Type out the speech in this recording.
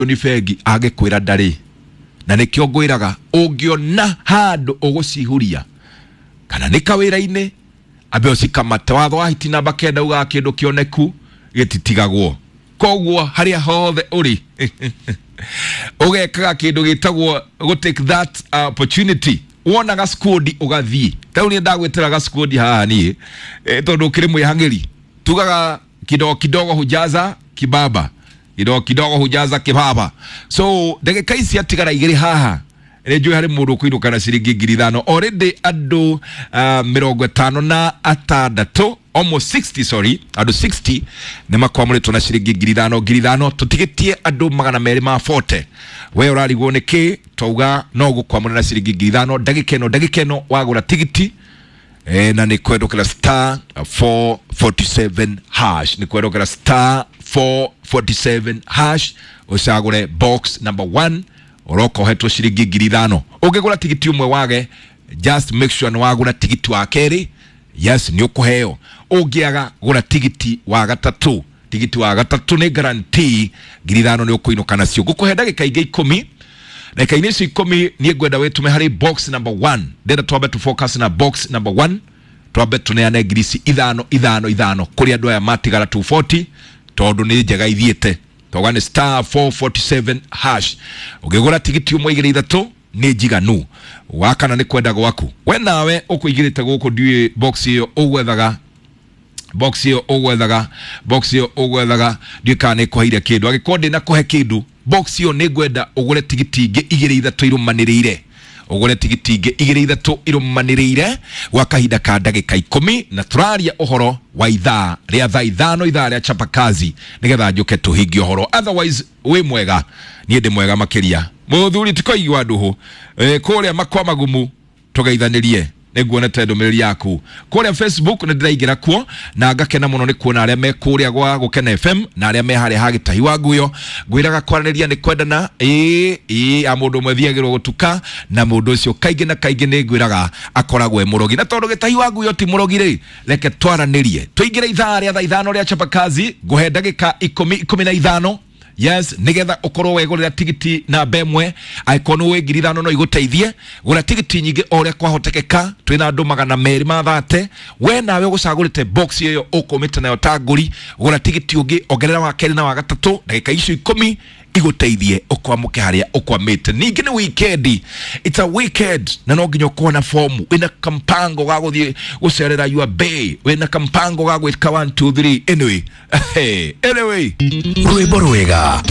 Nĩ bengi angĩkwĩra ndarĩ, na nĩkĩo ngwĩraga ũngĩona handũ ũgũcihuria kana nĩ kawĩra-inĩ, ambe ũcikamate. Watho wa hiti namba 9 ugaga kĩndũ kĩoneku gĩtitigagwo. Koguo harĩa hothe ũrĩ ũgekaga kĩndũ gĩtagwo gũ take that opportunity. Wona gaskudi ũgathiĩ. Tarĩu niĩ ndagwĩtĩra gaskudi haha niĩ, tondũ ũkĩrĩ mwĩhang'ĩri, tugaga kidogo kidogo hujaza kibaba, kidogo kidogo hujaza kibaba. So ndagĩka ici atigara 2 haha, nĩ njũĩ harĩ mũndũ ũkũinũka na ciringi 5,000 already. Andũ 56, almost 60, sorry, andũ 60 nĩ makwamũrĩtwo na ciringi 5,000 5,000. Tũtigĩtie andũ 240. We ũrarigwo nĩ kĩ? Twauga no gũkwamũra na ciringi 5,000 ndagĩka ĩno, ndagĩka ĩno wagũra tigiti, na nĩ kwendũkĩra star 447 hash, nĩ kwendũkĩra star 447 hash, ũcagũre box number 1, ũroka ũhetwo ciringi 5,000. Ũngĩgũra tigiti ũmwe wage, just make sure nĩ wagũra tigiti wa kerĩ. Yes, nĩ ũkũheo. Ũngĩaga, gũra tigiti wa gatatũ. Tigiti wa gatatũ nĩ guarantee 5,000 nĩ ũkũinũka nacio. Ngũkũhe ndagĩka ingĩ 10. Ndagĩka-inĩ icio 10 niĩ ngwenda wĩtũme harĩ box number 1. Ndĩrenda twambe tu focus na box number 1, twambe tũneane ngiri ici 5 5 5 kũrĩ andũ aya matigara 240, tondũ nĩ njega ithiĩte. Toga nĩ star 447 hash. Ũngĩgũra tigiti ũmwe, igĩrĩ, ithatũ nĩ njiganu. Wakana nĩ kwenda gwaku we nawe ũkũigĩrĩte gũkũ. Ndiũĩ box ĩyo ũgwethaga, box ĩyo ũgwethaga, box ĩyo ũgwethaga, ndiũĩ kana nĩ kũheire kĩndũ. Angĩkorwo ndĩna kũhe kĩndũ box ĩyo, nĩ ngwenda ũgũre tigiti ingĩ igĩrĩ ithatũ irũmanĩrĩire, ũgũre tigiti ingĩ igĩrĩ ithatũ irũmanĩrĩire gwa kahinda ka ndagĩka 10, na tũraria ũhoro wa ithaa rĩa thaa 5, ithaa rĩa chapakazi, nĩgetha njũke tũhingie ũhoro. Otherwise wĩ mwega? Niĩ ndĩ mwega makĩria. Mũthuri tikoigua ndũhũ, kũrĩa makwa magumu tũgeithanĩrie. Nĩnguonete ndũmĩrĩri yaku kũrĩa Facebook, nĩ ndĩraingĩra kuo na ngakena mũno nĩ kuona arĩa me kũrĩa gwa Gũkena FM na arĩa me harĩa ha Gĩtahi wa Nguyo. Ngwĩraga kwaranĩria nĩ kwendana. Ĩĩ ĩĩ, a mũndũ ũmwe thiagĩrwo gũtuka na mũndũ ũcio kaingĩ na kaingĩ nĩ ngwĩraga akoragwo e mũrogi, na tondũ Gĩtahi wa Nguyo ti mũrogi rĩ, reke twaranĩrie. Tũingĩre ithaa rĩa thaa 5 rĩa chapakazi. Ngũhe ndagĩka 10, 15, yes, nigetha ukorwo wegurira tigiti namba 1. Angĩkorwo nĩ ũĩ 5,000 no igũteithie, gũra tigiti nyingĩ o ũrĩa kwahotekeka. Twĩna andũ 230. We nawe ũgũcagũrĩte box ĩyo ũkũmĩte nayo ta ngũri, gũra tigiti ũngĩ, ongerera wa kerĩ na wa gatatũ. Ndagĩka icio 10 igũteithie ũkwamũke harĩa ũkwamĩte. Ningĩ nĩ weekend, it's a weekend, na no nginya ũkorwo na fomu, wĩna kampango ga gũthiĩ gũcerera your bay, wĩna kampango ga gwĩka 1 2 3. Anyway, anyway. Rwĩmbo rwega.